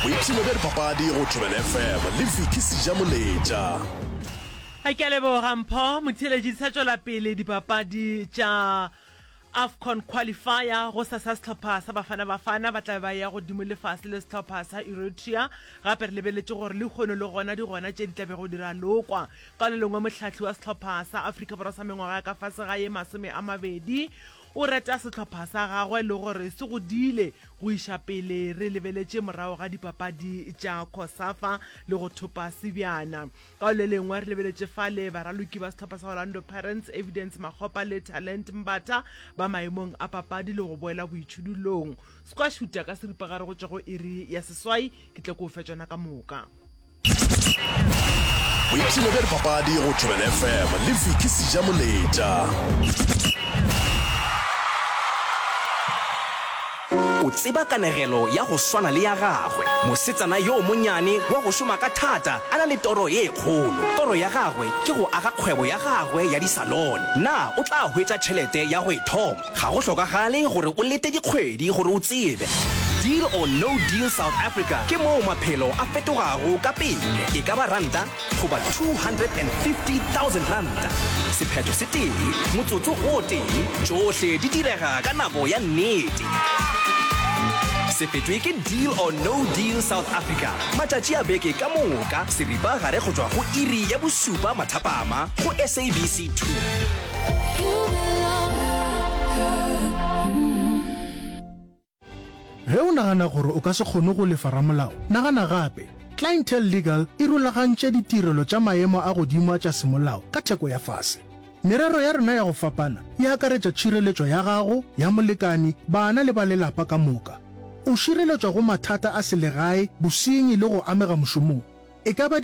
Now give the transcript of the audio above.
Boipshino bja dipapadi go Thobela FM le Vicky Sejamoletša. A ke a leboga Mpho. Motheeletši di sa tšwela pele dipapadi tša Afcon Qualifier. Gosasa sehlopha sa Bafana Bafana ba tla be ba eya godimo le fase le sehlopha sa Eritrea. Gape re lebeletše gore lehono le gona di gona tše di tla bego di ralokwa. Ka le lengwe mohlahli wa sehlopha sa Afrika Borwa sa mengwaga ya ka fase ga ye 20 o reta sehlopha sa gagwe le gore se godile go iša pele re lebeletše morago ga dipapadi tša Cosafa le go thopa sebjana. Ka le lengwe re lebeletše fale baraloki ba sehlopha sa Orlando Pirates Evidence Makgopa le Talent Mbatha ba maemong a papadi le go boela boitšhudulong. Squash-huta ka seripagare go tšwa go iri ya seswai ke tle ke o fe tšona ka moka. Boipshino bja dipapadi go Thobela FM le Vicky Sejamoletša. O tseba kanegelo ya go swana le ya gagwe, mosetsana yo monyane wa go šoma ka thata a na le toro ye kgolo. Toro ya gagwe ke go aga kgwebo ya gagwe ya disalone. Na o tla hwetša tšhelete ya go e thoma? Ga go hlokagale gore o lete dikgwedi gore o tsebe. Deal or No Deal South Africa ke moo maphelo a fetogago ka pele, e ka ba ranta goba 250,000 ranta. Sephetho se tee, motsotso o tee, tšohle di direga ka nako ya nnete. Se fetwe ke Deal or No Deal South Africa matšatši a beke ka moka seripa gare go tšwa go iri ya bošupa mathapama go SABC 2. Ge o nagana gore o ka se kgone go lefa ramolao, nagana gape. Clientele Legal e rulagantše ditirelo tša maemo a godimo a tša semolao ka theko ya fase. Merero ya rena ya go fapana e akaretša tšhireletšo ya gago, ya molekani, bana le ba lelapa ka moka. O šireletšwa go mathata a selegae, bosenyi le go amega mošomong. E ka ba.